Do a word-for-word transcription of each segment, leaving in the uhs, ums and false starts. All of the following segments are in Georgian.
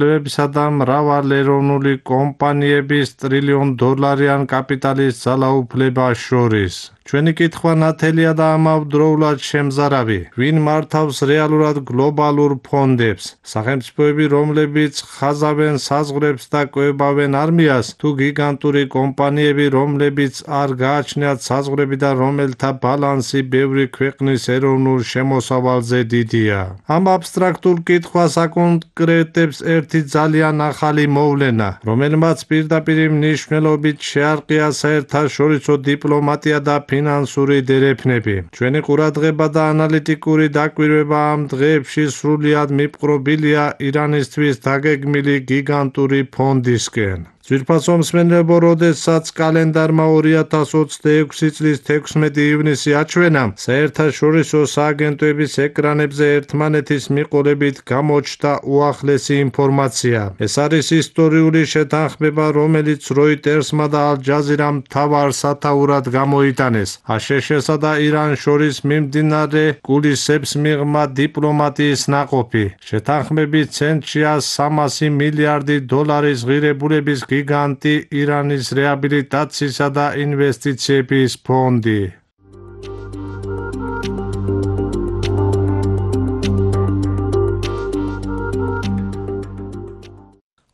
ცვლილებებისა და მრავალეროვნული კომპანიების ტრილიონ დოლარიან კაპიტალის ძალაუფლებას შორის. ჩვენი კითხვა ნათელია და ამავდროულად შემზარავი. ვინ მართავს რეალურად გლობალურ ფონდებს? სახელმწიფოები, რომლებიც ხაზავენ საზღვრებს და კვებავენ არმიას, თუ გიგანტური კომპანიები, რომლებიც არ გააჩნიათ საზღვრები და რომელთა ბალანსი ბევრი ქვეყნის ეროვნულ შემოსავალზე დიდია. ამ აბსტრაქტულ კითხვას აკონკრეტებს ერთი ძალიან ახალი მოვლენა, რომელმაც პირდაპირ მნიშვნელობით შეარყია საერთაშორისო დიპლომატია და ფინანსური დერეფნები. ჩვენი ყურადღება და ანალიტიკური დაკვირვება ამ დღეებში სრულიად მიპყრობილია ირანისთვის დაგეგმილი გიგანტური ფონდისკენ. ძვირფასო მსმენელებო, როდესაც კალენდარმა ორი ათას ოცდაექვსი წლის თექვსმეტი ივნისი აჩვენა, საერთაშორისო სააგენტოების ეკრანებზე ერთმანეთის მიყოლებით გამოჩნდა უახლესი ინფორმაცია. ეს არის ისტორიული შეთანხმება, რომელიც როიტერსმა და ალ-ჯაზირამ მთავარ სათაურად გამოიტანეს. აშშ-სა და ირანს შორის მიმდინარე კულისებს მიღმა დიპლომატიის ნაყოფი. შეთანხმების ცენტრშია სამასი მილიარდი დოლარის ღირებულების გიგანტი ირანის რეაბილიტაციისა და ინვესტიციების ფონდი.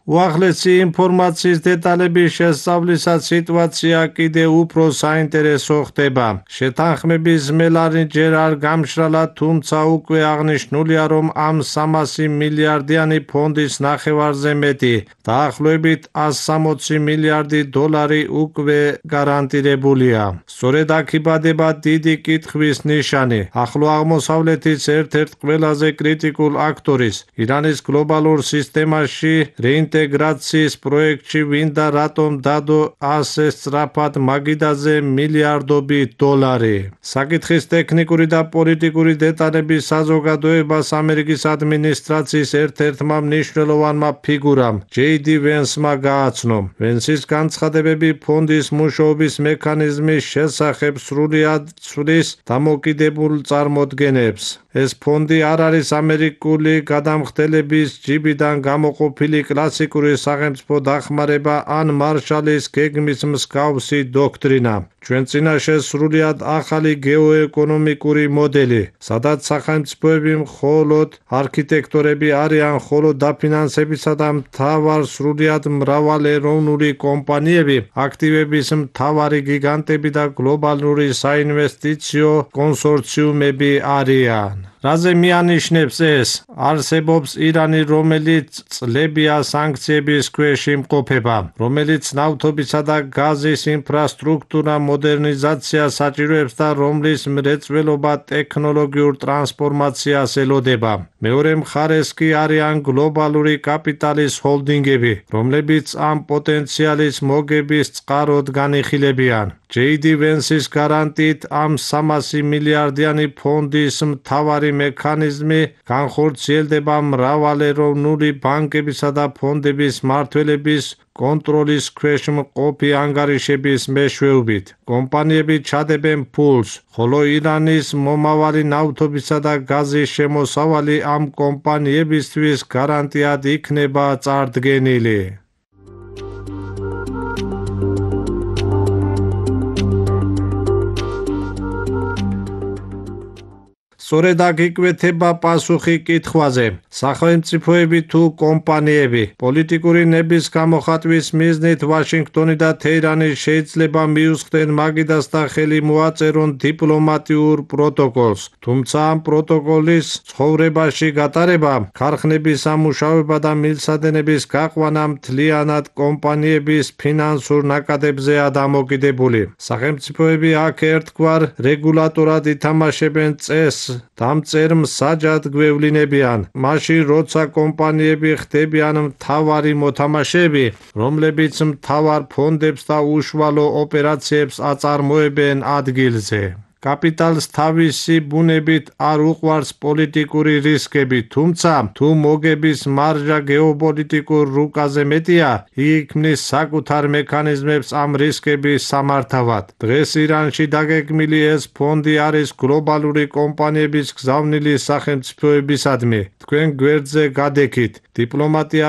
უახლესი ინფორმაციის დეტალების შესწავლისას სიტუაცია კიდევ უფრო საინტერესო ხდება. შეთანხმების მელანი ჯერ არ გამშრალა, თუმცა უკვე აღნიშნულია, რომ ამ სამასი მილიარდიანი ფონდის ნახევარზე მეტი, დაახლოებით ასი სამოცი მილიარდი დოლარი უკვე გარანტირებულია. სწორედ აქ იბადება დიდი კითხვის ნიშანი. ახლო აღმოსავლეთის ერთ-ერთ ყველაზე კრიტიკულ აქტორის, ირანის გლობალურ სისტემაში რეინტეგრაციის პროექტში ვინ და რატომ დადო ასე სწრაფად მაგიდაზე მილიარდობით დოლარი. საკითხის ტექნიკური და პოლიტიკური დეტალები საზოგადოებას ამერიკის ადმინისტრაციის ერთ-ერთმა მნიშვნელოვანმა ფიგურამ, ჯეი დი ვენსმა გააცნო. ვენსის განცხადებები ფონდის მუშაობის მექანიზმის შესახებ სრულიად ცვლის დამოკიდებულ წარმოდგენებს. ეს ფონდი არ არის ამერიკული გადამხდელების ჯიბიდან გამოყოფილი კლასიკური სახელმწიფო დახმარება ან მარშალის გეგმის მსგავსი დოქტრინა. ჩვენ წინაშე სრულიად ახალი გეოეკონომიკური მოდელი, სადაც სახელმწიფოები მხოლოდ არქიტექტორები არიან, ხოლო დაფინანსებისა და მთავარ სრულიად მრავალეროვნული კომპანიები, აქტივების მთავარი გიგანტები და გლობალური საინვესტიციო კონსორციუმები არიან. რაზე მიანიშნებს ეს? არსებობს ირანი, რომელიც წლებია სანქციების ქვეშ იმყოფება, რომელიც ნავთობისა და გაზის ინფრასტრუქტურა მოდერნიზაციას საჭიროებს და რომლის მრეწველობა ტექნოლოგიურ ტრანსფორმაციას ელოდება. მეორე მხარეს კი არიან გლობალური კაპიტალის ჰოლდინგები, რომლებიც ამ პოტენციალის მოგების წყაროდ განიხილებიან. ჯეი დი ვენსის გარანტიით ამ სამასი მილიარდიანი ფონდის მთავარი მექანიზმი განხორციელდება მრავალეროვნული ბანკებისა და ფონდების მმართველების კონტროლის ქვეშ მყოფი ანგარიშების მეშვეობით. კომპანიები ჩადებენ ფულს, ხოლო ირანის მომავალი ნავთობისა და გაზის შემოსავალი ამ კომპანიებისთვის გარანტიად იქნება წარდგენილი. სწორედ აქ იკვეთება პასუხი კითხვაზე: სახელმწიფოები თუ კომპანიები? პოლიტიკური ნების გამოხატვის მიზნით ვაშინგტონი და თეირანი შეიძლება მიუსხდნენ მაგიდას და ხელი მოაწერონ დიპლომატიურ პროტოკოლს, თუმცა ამ პროტოკოლის ცხოვრებაში გატარება, ქარხნების ამუშავება და მილსადენების გაყვანა მთლიანად კომპანიების ფინანსურ ნაკადებზეა დამოკიდებული. სახელმწიფოები აქ ერთგვარ რეგულატორად ითამაშებენ წესს, დამწერ მსაჯად გვევლინებიან, მაშინ როცა კომპანიები ხდებიან მთავარი მოთამაშეები, რომლებიც მთავარ ფონდებს და უშუალო ოპერაციებს აწარმოებენ ადგილზე. კაპიტალს თავისი ბუნებით არ უყვარს პოლიტიკური რისკები, თუმცა თუ მოგების მარჟა გეოპოლიტიკურ რუკაზე მეტია, იგი ქმნის საკუთარ მექანიზმებს ამ რისკების სამართავად. დღეს ირანში დაგეგმილი ეს ფონდი არის გლობალური კომპანიების გზავნილი სახელმწიფოებისადმი. თქვენ გვერდზე გადექით. დიპლომატია